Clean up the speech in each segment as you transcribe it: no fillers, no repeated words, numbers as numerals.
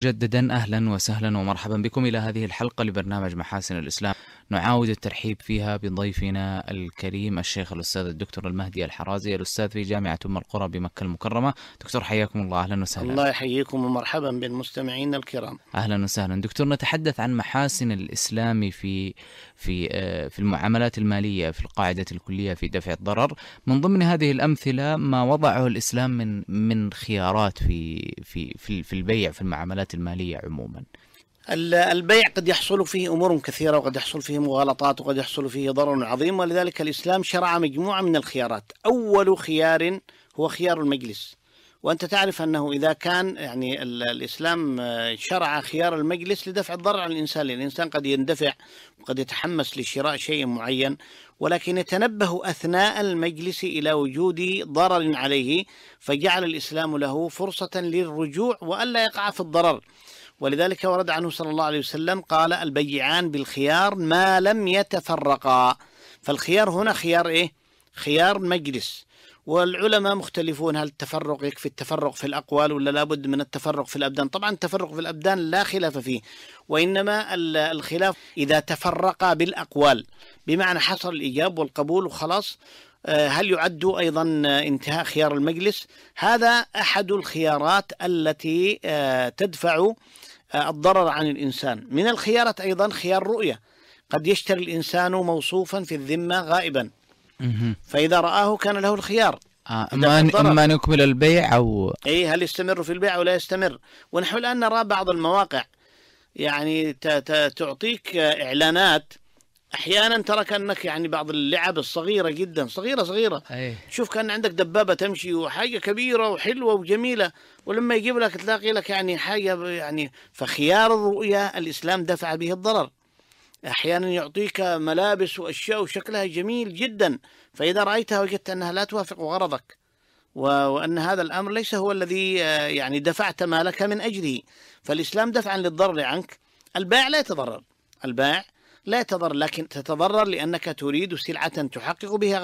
مجددا أهلا وسهلا ومرحبا بكم إلى هذه الحلقة لبرنامج محاسن الإسلام. نعاود الترحيب فيها بضيفنا الكريم الشيخ الأستاذ الدكتور المهدي الحرازي، الأستاذ في جامعة أم القرى بمكة المكرمة. دكتور حياكم الله، أهلا وسهلا. الله يحييكم ومرحبا بالمستمعين الكرام. أهلا وسهلا دكتور. نتحدث عن محاسن الإسلام في المعاملات المالية في القاعدة الكلية في دفع الضرر. من هذه الأمثلة ما وضعه الإسلام من خيارات في البيع في المعاملات المالية عموما. البيع قد يحصل فيه أمور كثيرة، وقد يحصل فيه مغالطات، وقد يحصل فيه ضرر عظيم، ولذلك الإسلام شرع مجموعة من الخيارات. أول خيار هو خيار المجلس، وأنت تعرف أنه إذا كان الإسلام شرع خيار المجلس لدفع الضرر على الإنسان، لأن الإنسان قد يندفع وقد يتحمس لشراء شيء معين، ولكن يتنبه أثناء المجلس إلى وجود ضرر عليه، فجعل الإسلام له فرصة للرجوع وألا يقع في الضرر. ولذلك ورد عنه صلى الله عليه وسلم قال: البيعان بالخيار ما لم يتفرقا. فالخيار هنا خيار إيه؟ خيار مجلس. والعلماء مختلفون، هل التفرق يكفي التفرق في الأقوال ولا لابد من التفرق في الأبدان؟ طبعا التفرق في الأبدان لا خلاف فيه، وإنما الخلاف إذا تفرق بالأقوال، بمعنى حصل الإيجاب والقبول وخلاص، هل يعد أيضا انتهاء خيار المجلس؟ هذا أحد الخيارات التي تدفع الضرر عن الإنسان. من الخيارات أيضا خيار رؤية، قد يشتري الإنسان موصوفا في الذمة غائبا، فإذا رآه كان له الخيار أما نكمل البيع أو هل يستمر في البيع ولا يستمر. ونحن الآن نرى بعض المواقع يعني تعطيك إعلانات، أحيانا ترى كأنك يعني بعض اللعب الصغيرة جدا، صغيرة شوف كأن عندك دبابة تمشي وحاجة كبيرة وحلوة وجميلة، ولما يجيب لك تلاقي لك يعني حاجة يعني. فخيار الرؤية الإسلام دفع به الضرر. أحيانا يعطيك ملابس وأشياء وشكلها جميل جدا، فإذا رأيتها وجدت أنها لا توافق غرضك، وأن هذا الأمر ليس هو الذي يعني دفعت مالك من أجله، فالإسلام دفعا للضرر عنك. البائع لا يتضرر، البائع لا يتضرر، لكن تتضرر لأنك تريد سلعة تحقق بها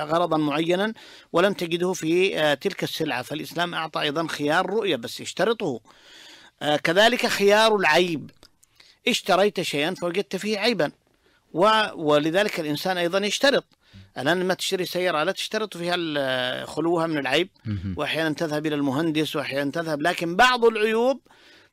غرضا معينا ولم تجده في تلك السلعة، فالإسلام أعطى أيضا خيار رؤية بس يشترطه. كذلك خيار العيب، اشتريت شيئا فوجدت فيه عيبا، ولذلك الإنسان أيضا يشترط. الآن لما تشتري سيارة لا تشترط فيها خلوها من العيب، وأحيانا تذهب إلى المهندس وأحيانا تذهب، لكن بعض العيوب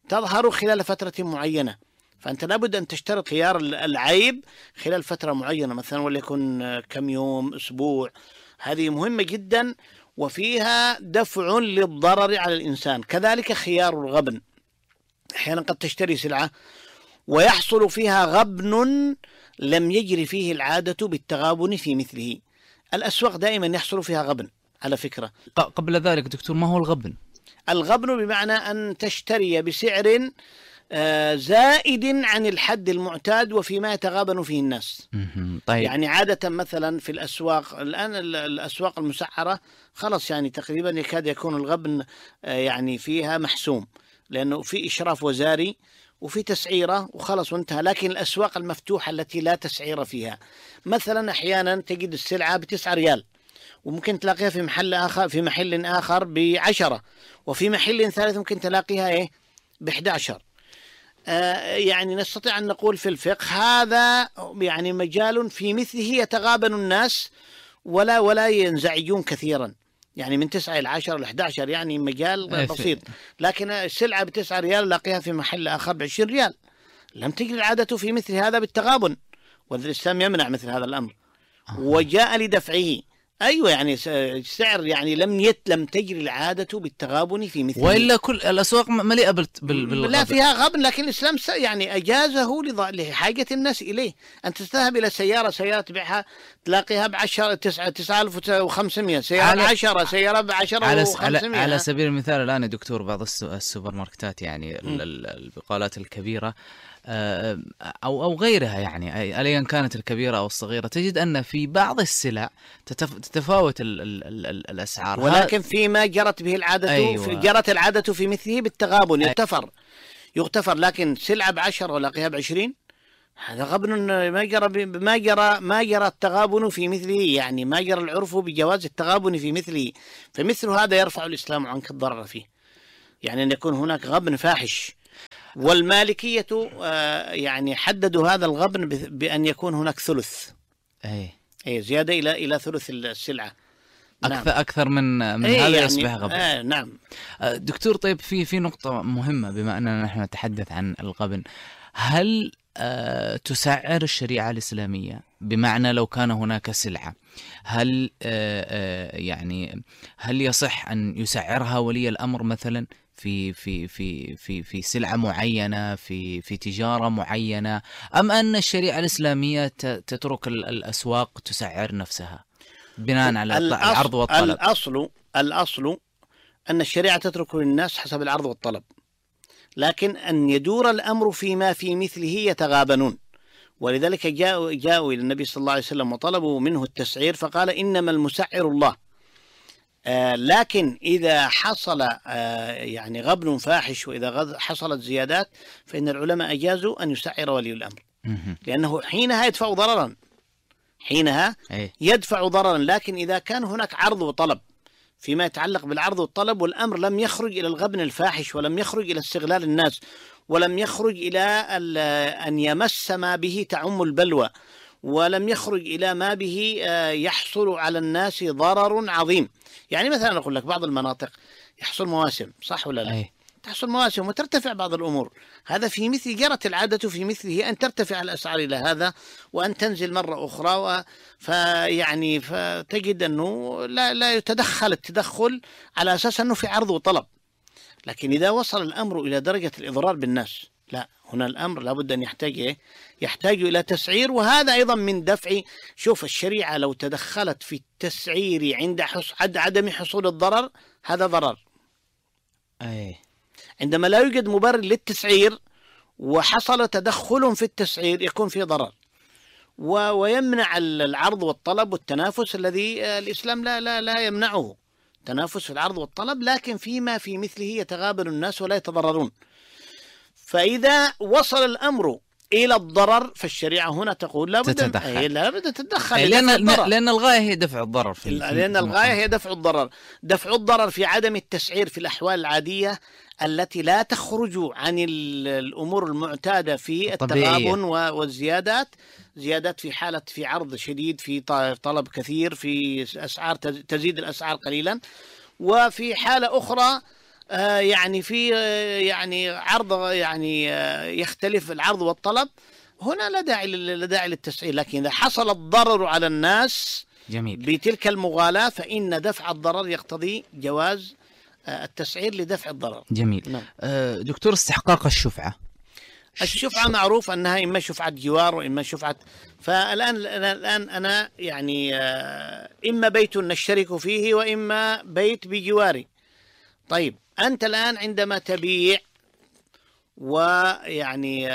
تظهر خلال فترة معينة، فأنت لابد أن تشترط خيار العيب خلال فترة معينة، مثلا وليكن كم يوم، أسبوع. هذه مهمة جدا وفيها دفع للضرر على الإنسان. كذلك خيار الغبن، أحيانا قد تشتري سلعة ويحصل فيها غبن لم يجري فيه العادة بالتغابن في مثله. الأسواق دائما يحصل فيها غبن على فكرة. قبل ذلك دكتور، ما هو الغبن؟ الغبن بمعنى أن تشتري بسعر زائد عن الحد المعتاد وفيما يتغابن فيه الناس. طيب. يعني عادة مثلا في الأسواق الآن، الأسواق المسعرة خلص يعني تقريبا يكاد يكون الغبن يعني فيها محسوم، لأنه في إشراف وزاري وفي تسعيرة وخلص وانتهى. لكن الأسواق المفتوحة التي لا تسعير فيها، مثلا أحيانا تجد السلعة ب9 ريال وممكن تلاقيها في محل آخر ب10، وفي محل ثالث ممكن تلاقيها ب11. يعني نستطيع أن نقول في الفقه هذا يعني مجال في مثله يتغابن الناس ولا ينزعجون كثيرا، يعني من 9 إلى 10 إلى 11 يعني مجال بسيط. لكن السلعة ب9 ريال لاقيها في محل آخر ب20 ريال، لم تجري العادة في مثل هذا بالتغابن، والإسلام يمنع مثل هذا الأمر وجاء لدفعه. أيوة يعني سعر يعني لم تجري العادة بالتغابن في مثله، وإلا كل الأسواق مليئة بالغبن. لا فيها غبن، لكن الإسلام يعني أجازه لحاجة الناس إليه. أنت تذهب إلى سيارة تبيعها تلاقيها ب9,500، سيارة ب10، سيارة ب10,500. على سبيل المثال الآن يا دكتور بعض السوبر ماركتات يعني البقالات الكبيرة أو غيرها، يعني أيا كانت الكبيرة أو الصغيرة، تجد أن في بعض السلع تتفاوت الأسعار، ولكن فيما جرت به العادة. أيوة. جرت العادة في مثله بالتغابن يغتفر، لكن سلعة ب10 ولاقيها ب20، هذا غبن. ما جرى التغابن في مثله، يعني ما جرى العرف بجواز التغابن في مثله، فمثل هذا يرفع الإسلام عنك الضرر فيه، يعني أن يكون هناك غبن فاحش. والمالكية يعني حددوا هذا الغبن بأن يكون هناك ثلث، أي زيادة إلى ثلث السلعة. أكثر من هذا يعني يصبح غبن. نعم دكتور. طيب في نقطة مهمة بما أننا نحن نتحدث عن الغبن، هل تسعر الشريعة الإسلامية؟ بمعنى لو كان هناك سلعة، هل يعني هل يصح أن يسعرها ولي الأمر مثلا في سلعة معينة، في تجارة معينة، أم أن الشريعة الإسلامية تترك الأسواق تسعر نفسها بناء على العرض والطلب؟ الأصل أن الشريعة تترك للناس حسب العرض والطلب، لكن أن يدور الأمر فيما في مثله يتغابنون. ولذلك جاءوا إلى النبي صلى الله عليه وسلم وطلبوا منه التسعير، فقال إنما المسعر الله. لكن إذا حصل يعني غبن فاحش وإذا حصلت زيادات فإن العلماء أجازوا أن يسعر ولي الأمر، لأنه حينها يدفع ضررا، يدفع ضررا. لكن إذا كان هناك عرض وطلب فيما يتعلق بالعرض والطلب، والأمر لم يخرج إلى الغبن الفاحش، ولم يخرج إلى استغلال الناس، ولم يخرج إلى أن يمس ما به تعم البلوى، ولم يخرج إلى ما به يحصل على الناس ضرر عظيم. يعني مثلا أقول لك بعض المناطق يحصل مواسم، صح ولا لا؟ تحصل مواسم وترتفع بعض الأمور، هذا في مثل جرت العادة في مثله أن ترتفع الأسعار إلى هذا وأن تنزل مرة أخرى، فيعني فتجد أنه لا يتدخل التدخل على أساس أنه في عرض وطلب. لكن إذا وصل الأمر إلى درجة الإضرار بالناس، لا، هنا الأمر لابد أن يحتاج إلى تسعير. وهذا أيضا من دفع، شوف الشريعة لو تدخلت في التسعير عند عدم حصول الضرر، هذا ضرر. عندما لا يوجد مبرر للتسعير وحصل تدخل في التسعير يكون فيه ضرر، ويمنع العرض والطلب والتنافس الذي الإسلام لا يمنعه، تنافس في العرض والطلب، لكن فيما في مثله يتغابن الناس ولا يتضررون. فإذا وصل الأمر إلى الضرر فالشريعة هنا تقول لا بد تتدخل، لأن الغاية هي دفع الضرر لأن الغاية هي دفع الضرر في عدم التسعير في الأحوال العادية التي لا تخرج عن الأمور المعتادة في التغابن والزيادات، زيادات في عرض شديد، في طلب كثير، في أسعار تزيد الأسعار قليلا، وفي حالة أخرى يعني في يعني عرض يعني يختلف العرض والطلب، هنا لا داعي للتسعير. لكن إذا حصل الضرر على الناس بتلك المغالاة فإن دفع الضرر يقتضي جواز التسعير لدفع الضرر. جميل. نعم. دكتور، استحقاق الشفعة معروف أنها إما شفعة جوار وإما شفعة، فالآن أنا يعني إما بيت نشترك فيه وإما بيت بجواري. طيب أنت الآن عندما تبيع ويعني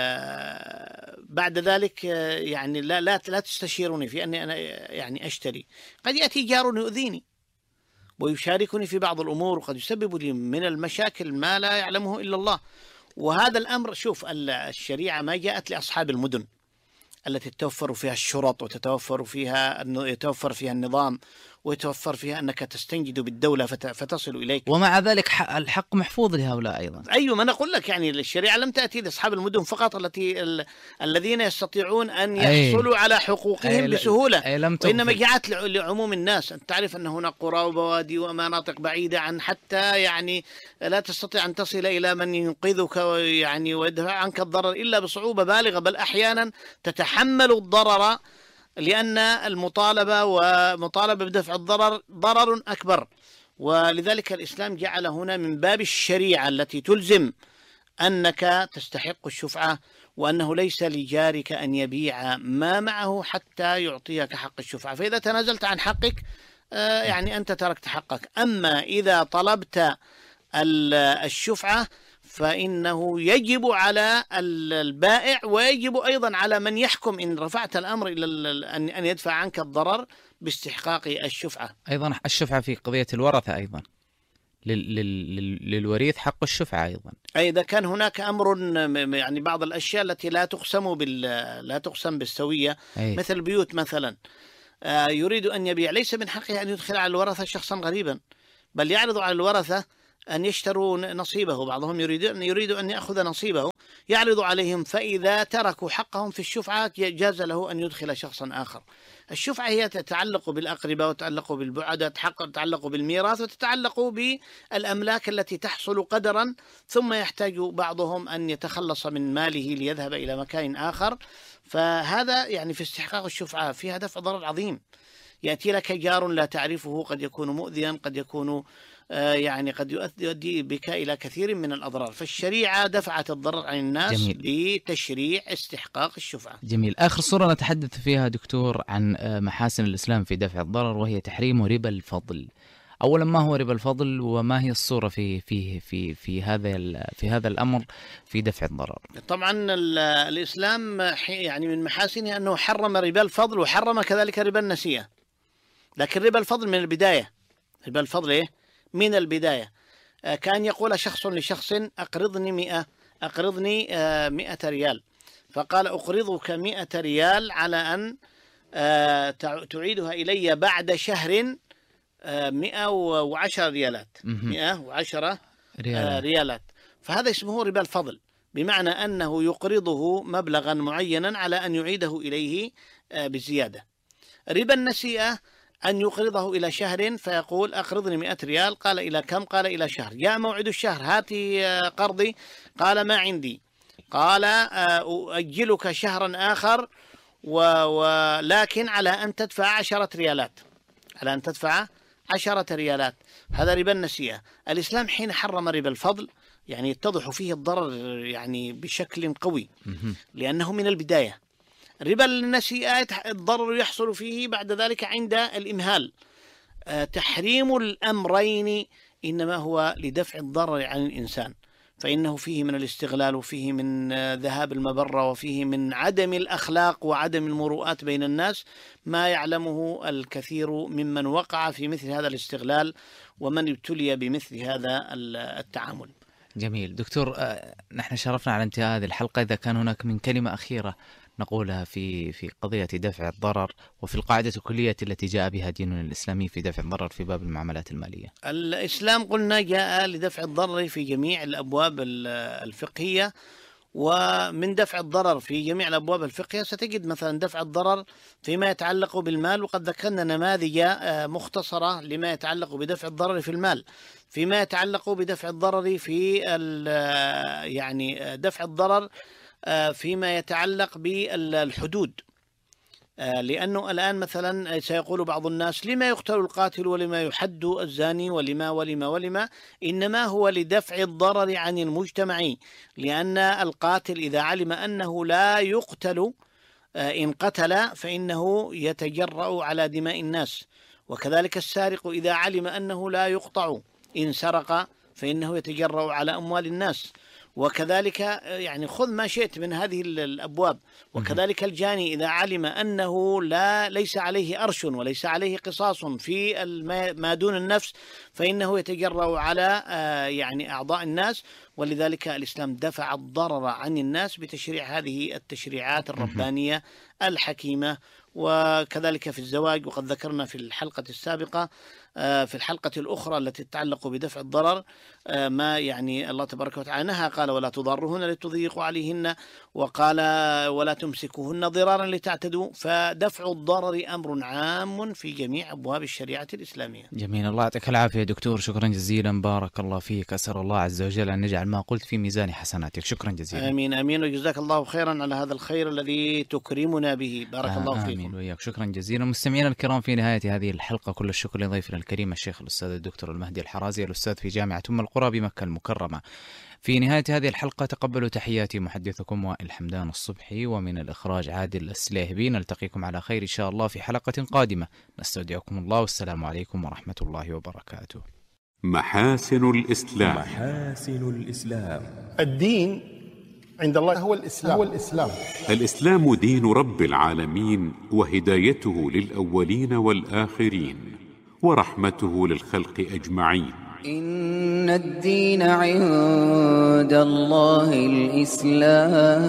بعد ذلك يعني لا تستشيرني في أني أنا يعني أشتري، قد يأتي جار يؤذيني ويشاركني في بعض الأمور، وقد يسبب لي من المشاكل ما لا يعلمه إلا الله. وهذا الأمر، شوف الشريعة ما جاءت لأصحاب المدن التي تتوفر فيها الشرط ويتوفر فيها النظام ويتوفر فيها أنك تستنجد بالدولة فتصل إليك، ومع ذلك الحق محفوظ لهؤلاء أيضا. أيوة، ما نقول لك يعني الشريعة لم تأتي لأصحاب المدن فقط الذين يستطيعون أن يحصلوا على حقوقهم بسهولة، وإنما جاءت لعموم الناس. أنت تعرف أن هناك قرى وبوادي ومناطق بعيدة عن حتى يعني لا تستطيع أن تصل إلى من ينقذك يعني ويدفع عنك الضرر إلا بصعوبة بالغة، بل أحيانا تتحمل الضرر لأن المطالبة بدفع الضرر ضرر أكبر. ولذلك الإسلام جعل هنا من باب الشريعة التي تلزم أنك تستحق الشفعة، وأنه ليس لجارك أن يبيع ما معه حتى يعطيك حق الشفعة، فإذا تنازلت عن حقك يعني أنت تركت حقك. أما إذا طلبت الشفعة فإنه يجب على البائع ويجب أيضا على من يحكم إن رفعت الأمر إلى أن يدفع عنك الضرر باستحقاق الشفعة. أيضا الشفعة في قضية الورثة، أيضا للوريث حق الشفعة أيضا. إذا كان هناك أمر يعني بعض الأشياء التي لا تقسم بالسوية، مثل البيوت مثلا، يريد أن يبيع، ليس من حقه أن يدخل على الورثة شخصا غريبا، بل يعرض على الورثة أن يشتروا نصيبه، بعضهم يريد أن يأخذ نصيبه، يعرض عليهم، فإذا تركوا حقهم في الشفعة جاز له أن يدخل شخصا آخر. الشفعة هي تتعلق بالأقرباء وتتعلق بالبعدة، تتعلق بالميراث وتتعلق بالأملاك التي تحصل قدرا، ثم يحتاج بعضهم أن يتخلص من ماله ليذهب إلى مكان آخر. فهذا يعني في استحقاق الشفعة فيها دفع ضرر عظيم. يأتي لك جار لا تعرفه، قد يكون مؤذيا، قد يكون يعني قد يؤدي بك إلى كثير من الأضرار. فالشريعة دفعت الضرر عن الناس. جميل. بتشريع استحقاق الشفعة. جميل. آخر صورة نتحدث فيها دكتور عن محاسن الإسلام في دفع الضرر، وهي تحريم ربا الفضل. أولا، ما هو ربا الفضل وما هي الصورة في هذا الأمر في دفع الضرر؟ طبعا الإسلام يعني من محاسنه أنه حرم ربا الفضل وحرم كذلك ربا النسيئة. لكن ربا الفضل من البداية، ربا الفضل إيه؟ من البداية. كان يقول شخص لشخص أقرضني 100 ريال، فقال أقرضك 100 ريال على أن تعيدها إلي بعد شهر 110 ريالات. 110 ريالات. فهذا اسمه ربا الفضل، بمعنى أنه يقرضه مبلغا معينا على أن يعيده إليه بزيادة. ربا النسيئة أن يقرضه إلى شهر، فيقول أقرضني 100 ريال، قال إلى كم؟ قال إلى شهر. جاء موعد الشهر، هاتي قرضي، قال ما عندي، قال أؤجلك شهرا آخر ولكن على أن تدفع 10 ريالات، على أن تدفع 10 ريالات. هذا ربا النسيئة. الإسلام حين حرم ربا الفضل يعني يتضح فيه الضرر يعني بشكل قوي، لأنه من البداية. ربا النسيئة الضرر يحصل فيه بعد ذلك عند الإمهال. تحريم الأمرين إنما هو لدفع الضرر عن الإنسان، فإنه فيه من الاستغلال، وفيه من ذهاب المبرة، وفيه من عدم الأخلاق وعدم المروءات بين الناس، ما يعلمه الكثير ممن وقع في مثل هذا الاستغلال ومن ابتلي بمثل هذا التعامل. جميل. دكتور، نحن شرفنا على انتهاء هذه الحلقة. إذا كان هناك من كلمة أخيرة نقولها في قضية دفع الضرر وفي القاعدة الكلية التي جاء بها ديننا الإسلامي في دفع الضرر في باب المعاملات المالية. الإسلام قلنا جاء لدفع الضرر في جميع الأبواب الفقهية، ومن دفع الضرر في جميع الأبواب الفقهية ستجد مثلا دفع الضرر فيما يتعلق بالمال، وقد ذكرنا نماذج مختصرة لما يتعلق بدفع الضرر في المال. فيما يتعلق بدفع الضرر في يعني دفع الضرر فيما يتعلق بالحدود، لأنه الآن مثلا سيقول بعض الناس لما يقتل القاتل ولما يحد الزاني ولما إنما هو لدفع الضرر عن المجتمع، لأن القاتل إذا علم أنه لا يقتل إن قتل فإنه يتجرأ على دماء الناس، وكذلك السارق إذا علم أنه لا يقطع إن سرق فإنه يتجرأ على أموال الناس، وكذلك يعني خذ ما شئت من هذه الأبواب. وكذلك الجاني إذا علم أنه ليس عليه أرش وليس عليه قصاص في ما دون النفس فإنه يتجرأ على يعني أعضاء الناس. ولذلك الإسلام دفع الضرر عن الناس بتشريع هذه التشريعات الربانية الحكيمة. وكذلك في الزواج، وقد ذكرنا في الحلقة السابقة في الحلقة الأخرى التي تتعلق بدفع الضرر ما يعني الله تبارك وتعالى نهى، قال ولا تضرهن لتضيقوا عليهن، وقال ولا تمسكوهن ضرارا لتعتدوا. فدفع الضرر أمر عام في جميع أبواب الشريعة الإسلامية. جميل. الله يعطيك العافية دكتور، شكرا جزيلا، بارك الله فيك. أسأل الله عز وجل أن يجعل ما قلت في ميزان حسناتك. شكرا جزيلا. آمين آمين، وجزاك الله خيرا على هذا الخير الذي تكرمنا به. بارك الله فيكم. آمين وإياك. شكرا جزيلا. مستمعينا الكرام، في نهاية هذه الحلقة كل الشكر لضيفنا الكريم الشيخ الأستاذ الدكتور المهدي الحرازي، الأستاذ في جامعة أم القرى بمكة المكرمة. في نهاية هذه الحلقة تقبلوا تحياتي محدثكم وائل حمدان الصبحي، ومن الإخراج عادل السليهبي. نلتقيكم على خير إن شاء الله في حلقة قادمة. نستودعكم الله، والسلام عليكم ورحمة الله وبركاته. محاسن الإسلام. محاسن الإسلام. الدين عند الله هو الإسلام. الإسلام دين رب العالمين، وهدايته للأولين والآخرين، ورحمته للخلق أجمعين. إن الدين عند الله الإسلام.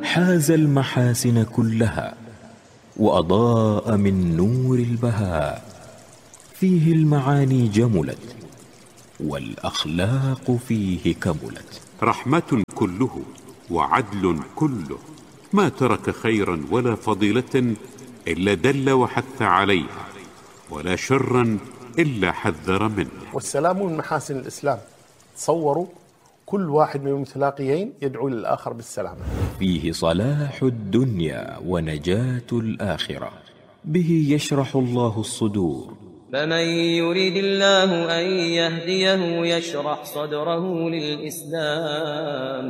حاز المحاسن كلها وأضاء من نور البهاء، فيه المعاني جملت والأخلاق فيه كملت. رحمة كله وعدل كله، ما ترك خيرا ولا فضيلة إلا دل وحث عليها، ولا شرا إلا حذر منه. والسلام من محاسن الإسلام. تصوروا كل واحد من المتلاقيين يدعو للآخر بالسلامة. فيه صلاح الدنيا ونجاة الآخرة، به يشرح الله الصدور. فمن يريد الله أن يهديه يشرح صدره للإسلام،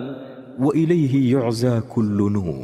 وإليه يعزى كل نور.